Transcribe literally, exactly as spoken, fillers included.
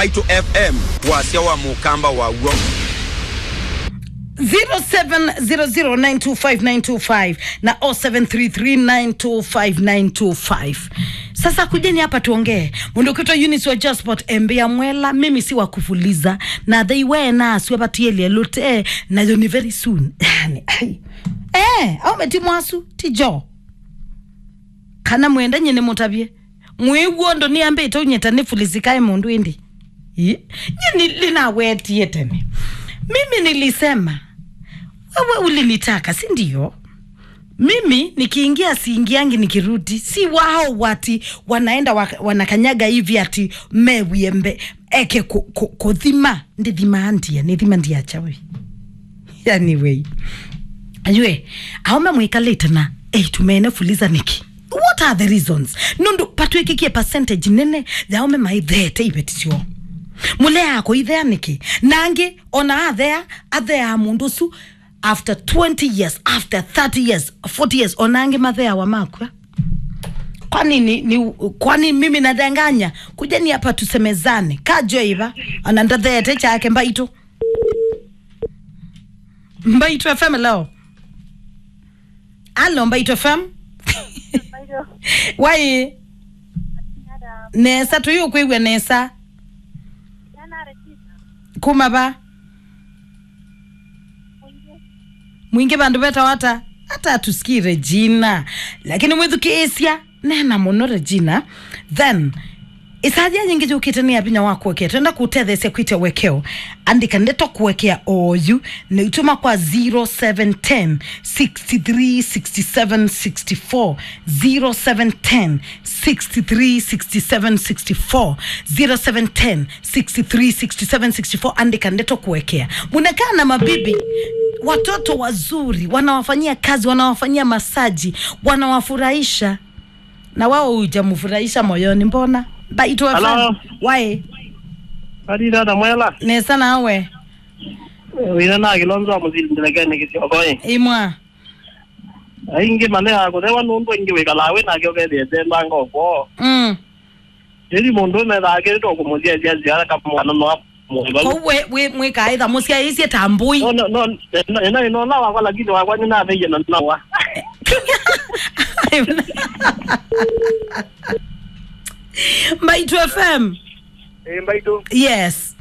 Mbaitu F M, wasya wa mũkamba waw'o. Zero seven zero zero nine two five nine two five na oh seven three three nine two five nine two five. Sasa kujeni hapa tuongee. Mũndũ ũkwĩtwa Eunice wa Josport, embea Mwela, mimi si wa kufuliza. Na they were na aswe batielye lute, nayo ni very soon. Yani, ai. Eh, au meti mwasu, tijo. Kana mwenda nyine mũtavye. Mwĩw'o ũndũ nĩambĩte ũnyĩta nĩ fulizikae mũndũ ĩndĩ. Ĩ? Nyie nĩnawetie tene. Mimi nilisema, wewe ulinitaka, si ndio? Mimi nikiingia siingiangi nikirudi. Si wao wati wanaenda wa- wanakanyaga hivi ati mewie mbe eke ku- ku- kuthima. Ndithimaa ndia, nĩthima ndia chawi. Anyway, aume mwĩkalĩte na eitu mene fuliza nĩkĩ? What are the reasons? Nũndũ patwĩkĩkie percentage nene ya aume maithete iveti syoo. Mũleaa kũithea nĩkĩ? Na angĩ, ona athea, atheaa mũndũ ũsu after twenty years, after thirty years, forty years, ona angĩ matheawa makw'a. Kwani ni, ni, kwani mimi nadanganya? Kujeni hapa tusemezane. Kajo iva, ana ndatheete chake Mbaitu. Mbaitu F M leo. Alo, Mbaitu F M. Mbaitu. Wai. Nesa, tuyu kwĩw'a nesa. Kuma va? Mwingi vandũ vetawa ata? Hata tusikii Regina. Lakini mwĩthukĩĩsya, neena mũno Regina. Then, ĩsathia yĩngĩ yũkĩte nĩ ya vinya wa kũekea. Twenda kũtetheesya kwĩtya wekeo. Andĩka ndeto kũekea oyu. Nĩtũma kwa zero seven ten, six three six seven six four. Zero seven ten, six three six seven six four. Zero seven ten, six three six seven six four. Andĩka ndeto kũekea. Munakaa na mabibi, watoto wazuri, wanawafanyia kazi, wanawafanyia masaji, wanawafurahisha. Na wao hujamfurahisha moyoni, mbona? Mbaitu F M. Hello. Wai. Kali dada Mwela. Nesa nawe. Wĩna na Kilonzo wa Mũsili ndĩlekene kĩsiokoi. Imwa. Aingĩ maleaa kũthewa nũndũ aingĩ wĩkalaa wĩ nake ũkethĩe tembanga ũkwoo. Mm. Ĩndĩ mũndũ methaa kĩrĩtwa kũmũthyathya nzĩa kamwana no amũĩvalu. Kwoou we, we mwĩkaĩtha mũsyaĩĩsye ta mbũi. No, no, no, ĩna ĩnola wakwa lakini wakwa nĩnatheie na nawa. Mbaitu F M. Ĩ, Mbaitu. Yes.